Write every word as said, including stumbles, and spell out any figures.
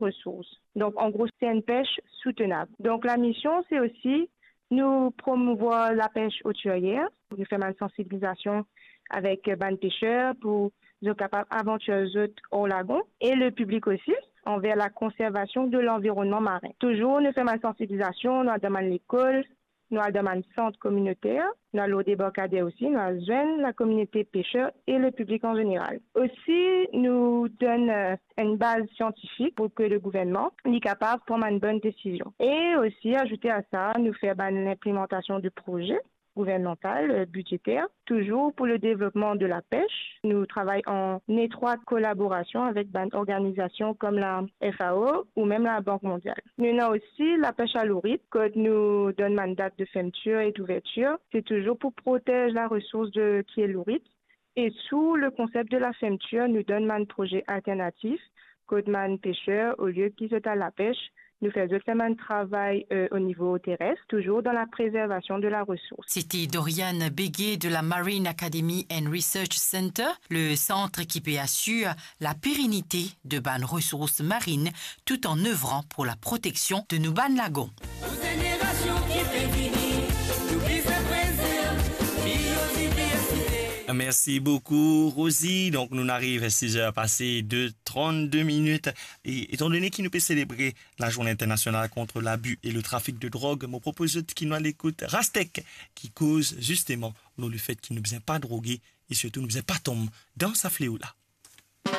resours. Donk, an gro, se enn pes soutenab. Donk, lamision, se osi nou promouvwar lapes otiryer, nou fer bann sansibilizasion avek bann peser pou zot kapav avantir zot or lagon, e le piblik osi, anver la konservasion de lanvironnman marin. Touzour, nou fer bann sansibilizasion, nou al dan bann lekol, nou al dan bann sant kominoter, nou al lor debarkader osi, nou al zwenn lakominote peser e le piblik an zeneral. Osi, nou donn, eh, enn baz siantifik pou ke le gouvernman, li kapav pran bann bonn desizion. E osi, azoute a sa, nou fer bann linplimantasion de proze gouvernmantal, eh, bidzeter, touzour pou le devlopman de lapes. Nou travay an etrwat kolaborasion avek bann organizasion kom la F A O ou mem la Bank Mondial. Nou ena osi lapes a lourit, kot nou donn bann dat de fermtir e douvertir. Se touzour pou protez laresours de ki e lourit. E sou le konsep de la fermtir, nou donn bann proze alternatif, kot bann peser, olie ki zot al lapes, nou fer zot fer bann travay, eh, o nivo teres, touzour dan la prezervasion de laresours. C'était Doriane Béguet de la Marine Academy and Research Center, le centre qui peut assurer la pérennité de bann ressources marines tout en œuvrant pour la protection de nou bann lagon. Pou zenerasion ki pe vini, nou bizin prezerv biodiversite. Merci beaucoup, Rosie. Donc, nous arrivons à six heures passées de trente-deux minutes. Et étant donné que nous célébrons la Journée internationale contre l'abus et le trafic de drogue, mo propoz zot ki nou al ekout Rastek, ki koz zisteman lor lefet ki nou bizin pa droge e sirtou nou bizin pa tom dan sa fleo la.